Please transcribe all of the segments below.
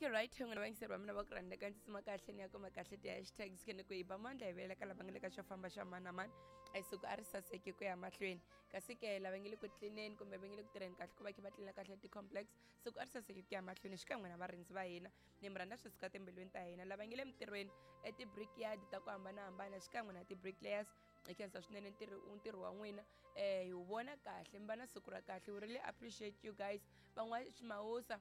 Okay, right, n'wina vayingiseri va mina va ku rhandza ka ndzi tsima kahle ni ya kuma kahle ti-hashtags ke ni ku yi ba mandla hi vuyela ka lava nga le ka xo famba xa mani na mani. A hi siku a ri saseki ku ya mahlweni, kasi ke lava nge le ku tlineni kumbe va nge le ku tirheni kahle ku va khe va tlina kahle ti-complex, siku a ri saseki ku ya mahlweni xikan'we na varindzi va hina. Ni mi rhandza swi suka timbilwini ta hina. Lava nge le mintirhweni eti-brickyard ta ku hambanahambana xikan'we na ti-bricklayers, hi khensa swinene ntirho wa n'wina, hi wu vona kahle. Mi va na siku ra kahle. We really appreciate you guys. Van'wa ximawusa,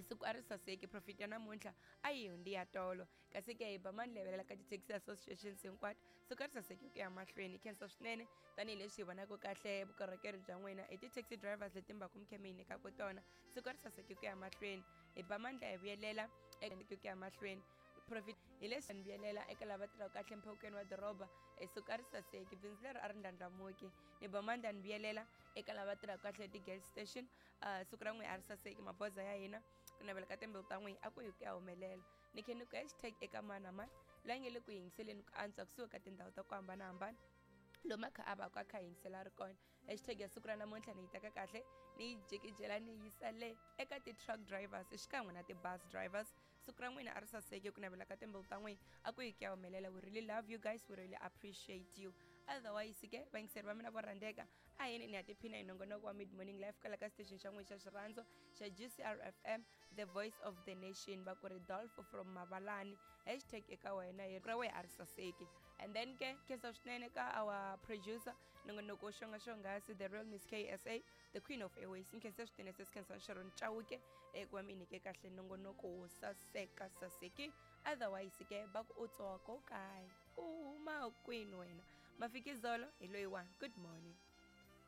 siku a ri saseki. Profit ya namuntlha a yi hundzi ya tolo, kasi ke hi ba mani levelela ka ti-taxi associations hinkwato, siku a ri saseki ku ya mahlweni. Khensa swinene tanihileswi hi vonaka kahle vukorhokeri bya n'wina hi ti-taxi drivers leti mi va ku mi khe mi yi nyikaka tona. Siku a ri saseki ku ya mahlweni. Hi ba mandla hi vuyelela ku ya mahlweni. Profit hi leswi ni vuyelela eka lava tirhaka kahle mphawukeni wa doroba, siku a ri saseki, bindzu leri a ri ndlandlamuki. Ni ba mandla ni vuyelela eka lava tirhaka kahle ti-gas station, siku ra n'wi a ri saseki. Magoza ya hina ku navela ka timbilu ta n'wina a ku hi ku ya humelela. Ni khe ni ku hashtag eka mani na mani loyi nge le ku yingiseleni ku antswa kusuhi ka tindhawu ta ku hambanahambana, lomu a kha a va ku a kha yingisela ri kona. Hashtag ya siku ra namuntlha ni yi teka kahle ni yi jikijela ni yisa le eka ti-truck drivers xikan'we na ti-bus drivers. Siku ra n'wina a ri saseki, ku navela ka timbilu ta n'wina a ku hi ku ya humelela. We really love you guys, we really appreciate you. Otherwise ke vayingiseri va mina vo rhandzeka, a yini ni ya tiphina hi nongonoko wa Mid Morning Life kwala ka station xa n'wina xa xirhandzo xa GCR FM, the voice of the nation. Va ku ri Dolph from Mavalani, hashtag eka wena hi ra wehe a ri saseki. And then ke khensa swinene ka our producer nongonoko wo xonga xonghasi, the real Miss KSA, the queen of airways. Nkhensa swinene sesi Khensa Sharon Chauke eku va mi nyike kahle nongonoko wo saseka saseki. Otherwise ke va ku u tsoko kaya u huma kwini wena mafikizolo hi loyiwani. Good morning.